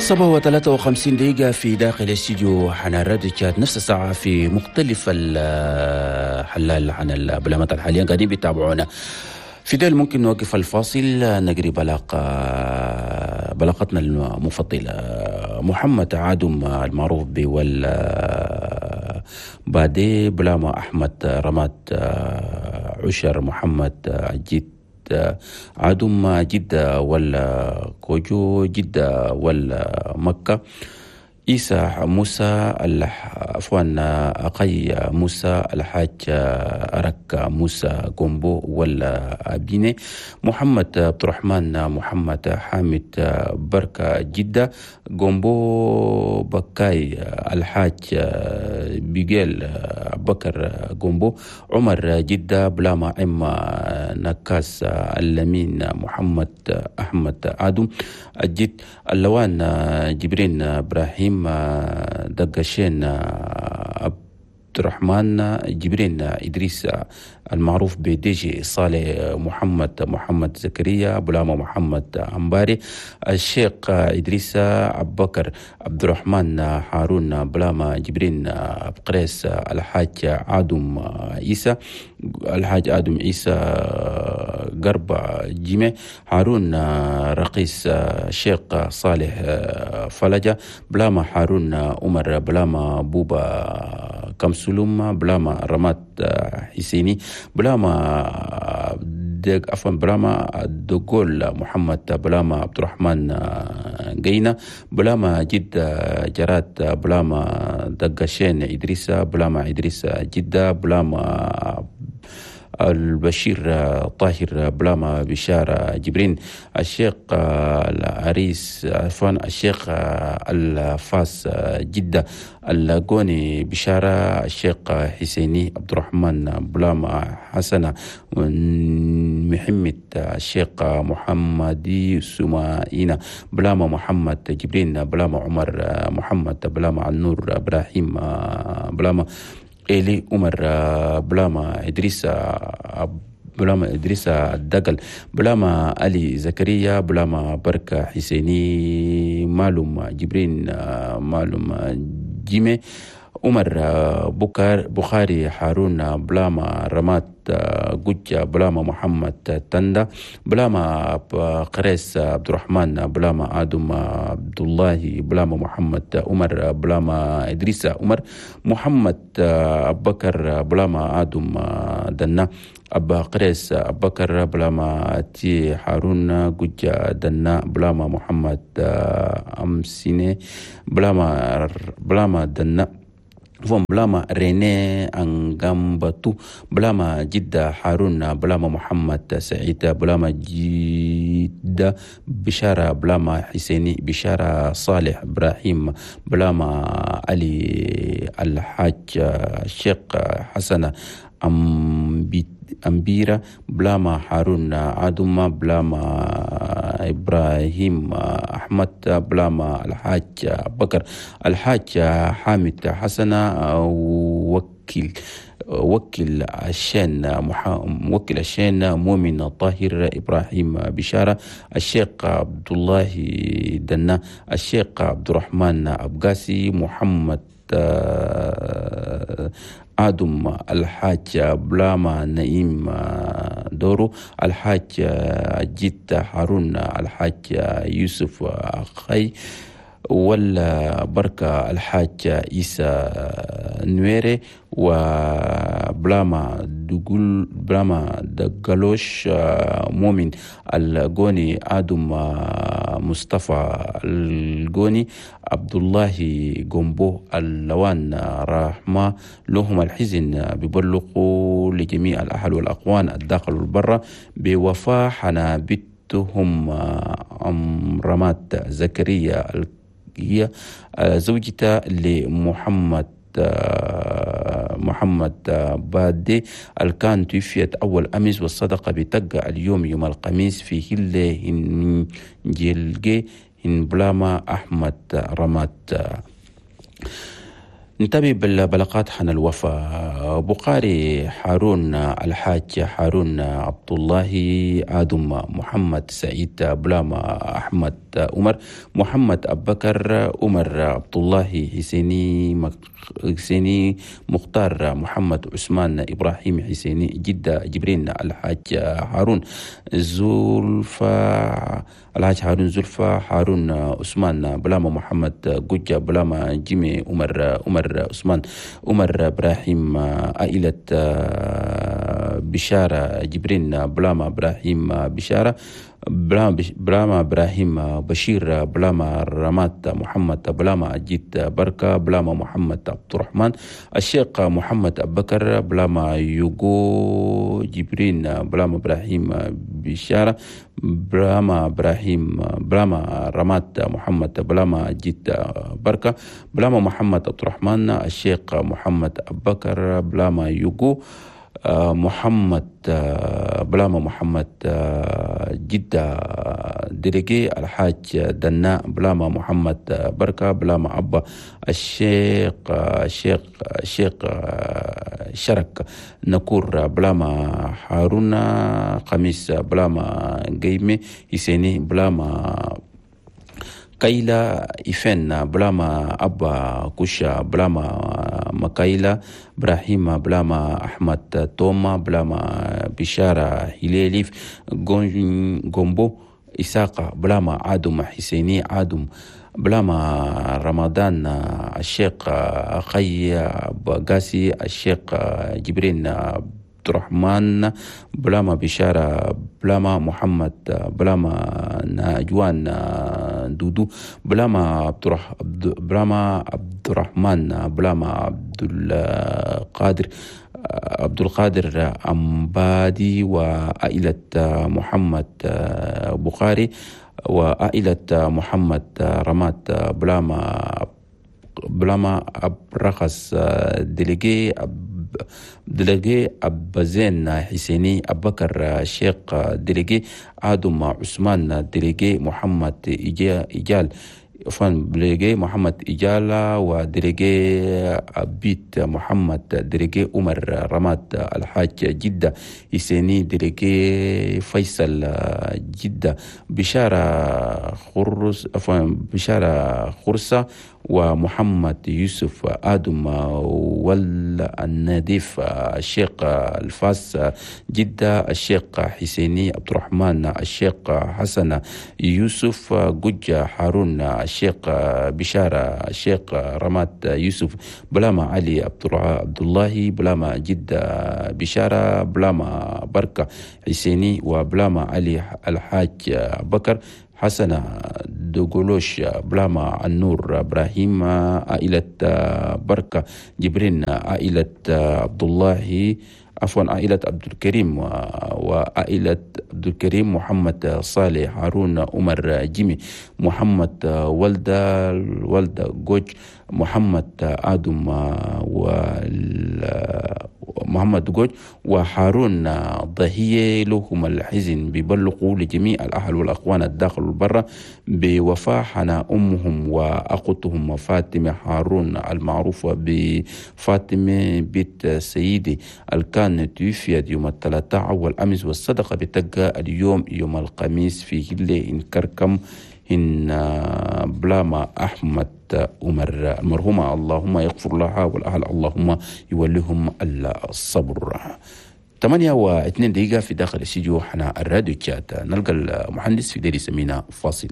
7:53 في داخل الاستديو حنا الراديو تشاد، نفس الساعة في مختلف الحلال عن البلامات الحاليا قاعدين بيتابعونا. في ديل ممكن نوقف الفاصل، نجري بلاقتنا المفضلة. محمد عادم المعروف بول بادي، بلاما أحمد رماد عشر، محمد جد عدم جدة ولا كوجو، جدة ولا مكة، عيسى موسى، عفوا أقي موسى، الحاج أرك موسى جومبو ولا أبيني، محمد عبد الرحمن محمد حامد بركة جدة جومبو بكاي، الحاج بيجيل بكر جومبو، عمر جدة، بلاما عم نكاس اللمين محمد أحمد آدم الجد، اللوان جبرين إبراهيم دقشين عبد الرحمن جبرين إدريس المعروف بديجي صالح محمد محمد زكريا، بلاما محمد أمباري، الشيخ إدريس أبو بكر عبد الرحمن هارون، بلاما جبرين أبقريس، الحاج آدم عيسى، الحاج آدم عيسى قرب جيمة، هارون رقيس، الشيخ صالح فلجة، بلاما هارون عمر، بلاما بوبا كمسلوم، بلاما رمات حسيني، بلاما عفوا بلاما دقول محمد، بلاما عبد الرحمن قينا، بلاما جد جرات، بلاما دقشين إدريس، بلاما إدريس جدة، بلاما البشير طاهر، بلاما بشارة جبرين، الشيخ العريس عفوا الشيخ الفاس جدة، اللاقوني بشارة، الشيخ حسيني عبد الرحمن، بلاما حسنة محمد، الشيخ محمدي سمائنا، بلاما محمد جبرين، بلاما عمر محمد، بلاما النور إبراهيم، بلاما إلي عمر، بلاما إدريس، بلاما إدريس الدقل، بلاما علي زكريا، بلاما بركة حسيني، معلوم جبرين، معلوم جيمي، عمر بكر بخاري، هارون، بلاما رمات جوجا، بلاما محمد تندا، بلاما قريس عبد الرحمن، بلاما آدم عبد الله، بلاما محمد عمر، بلاما إدريس عمر، محمد أبو بكر، بلاما آدم دنا، أبا قريس أبو بكر، بلاما تي هارون جوجا دنا، بلاما محمد أمسيني، بلاما دنا، بلاما ريني أنغامباتو، بلاما جدة هارون، بلاما محمد سعيد، بلاما جدة بشارة، بلاما حسيني بشارة صالح إبراهيم، بلاما علي الحاج الشيخ حسن أمبيرة، بلاما هارون عدوما، بلاما إبراهيم أحمد، بلاما الحاج بكر، الحاج حامد حسن، وكيل الشين مؤمن طاهر إبراهيم بشارة، الشيخ عبد الله دنا، الشيخ عبد الرحمن أبقاسي، محمد آدم، الحاج بلاما نعيم دورو، الحاج جيت هارون، الحاج يوسف خي ولا بركة، الحاج عيسى نويري، وبلاما دقول بلاما دقلوش مؤمن الجوني، آدم مصطفى الجوني، عبد الله جومبو، اللوان رحمة لهم الحزن بيبلغوا لجميع الأهل والأقوان الداخل والبرة بوفاة حنابتهم أمرمات زكريا هي زوجته لمحمد محمد بادي الكان توفيت أول أمس، والصدقة بتقع اليوم يوم الخميس في هلة هنجلجي هنبلاما أحمد رمات. نتابع بالبلاغات حن الوفاة. بخاري هارون، الحاج هارون عبد الله، آدم محمد سعيد، بلاما أحمد محمد عمر، محمد أبكر عمر، عبد الله حسيني مختار، محمد عثمان، إبراهيم حسيني جدة، جبرين الحاج هارون زلفا، الحاج هارون زلفا، هارون عثمان، بلاما محمد جوجا، بلاما جيمي عمر، عمر عثمان، عمر إبراهيم، عائلة بشارة جبرين، بلاما إبراهيم بشارة، بلاما إبراهيم بشير، بلاما رمات محمد، بلاما جيت بركة، بلاما محمد عبد الرحمن، الشيخ محمد أبكر، بلاما يوغو جبرين، بلاما إبراهيم بشارة، بلاما إبراهيم، بلاما رمات محمد، بلاما جيت بركة، بلاما محمد عبد الرحمن، الشيخ محمد أبكر، بلاما يوغو محمد، بلاما محمد جدة ديليجي، الحاج دناء، بلاما محمد بركة، بلاما أبا الشيخ الشيخ الشيخ شرك نكور، بلاما هارون خميس، بلاما جيمي حسيني، بلاما كايلا إفن، بلاما أبا كوشا، بلاما مكايلا إبراهيم، بلاما أحمد توما، بلاما بشارة هليليف غومبو إساقة، بلاما عادم حسيني عادم، بلاما رمضان الشيخ خي قاسي، الشيخ جبرين عبد الرحمن، بلاما بشارة، بلاما محمد، بلاما ناجوان دودو، بلاما بلاما عبد الرحمن، بلاما عبد القادر عبد القادر أمبادي، وعائلة محمد بخاري، وعائلة محمد رمات، بلاما أبرخص ديليجي، ديليجي أبزين حسيني أبكر الشيخ ديليجي، آدم عثمان ديليجي، محمد إجال فان ديليجي محمد إجالة، وديليجي أبيت محمد ديليجي، عمر رماد الحاج جدة حسيني ديليجي، فيصل جدة، بشارة خرس بشارة خرسة، ومحمد يوسف آدم والنديف الشيخ الفاس جدة، الشيخ حسيني عبد الرحمن، الشيخ حسن يوسف جوجة هارون، الشيخ بشارة، الشيخ رمات يوسف، بلاما علي عبد الله، بلاما جدة بشارة، بلاما بركة حسيني، وبلاما علي الحاج بكر حسن دوغولوش، بلاما النور إبراهيم، عائلة بركة جبرين، عائلة عبد الله عفوا عائلة عبد الكريم، وعائلة عبد الكريم محمد صالح هارون عمر جيمي، محمد ولدة ولدة جوج، محمد آدم محمد جوج، وهارون ضهية. لهم الحزن بيبلغوا لجميع الأهل والأخوان الداخل والبرة بوفاة حنا أمهم وأختهم فاطمة هارون المعروفة بفاطمة بنت سيدي الكان توفيت يوم الثلاثاء أول أمس، والصدقة بتلقى اليوم يوم الخميس في هلة إن كركم إن بلاما أحمد عمر المرحومة، اللهم يغفر لها والأهل اللهم يوليهم الصبر. 8:02 في داخل الاستديو حنا الراديو تشات، نلقى المهندس في ديري سمينا فاصل.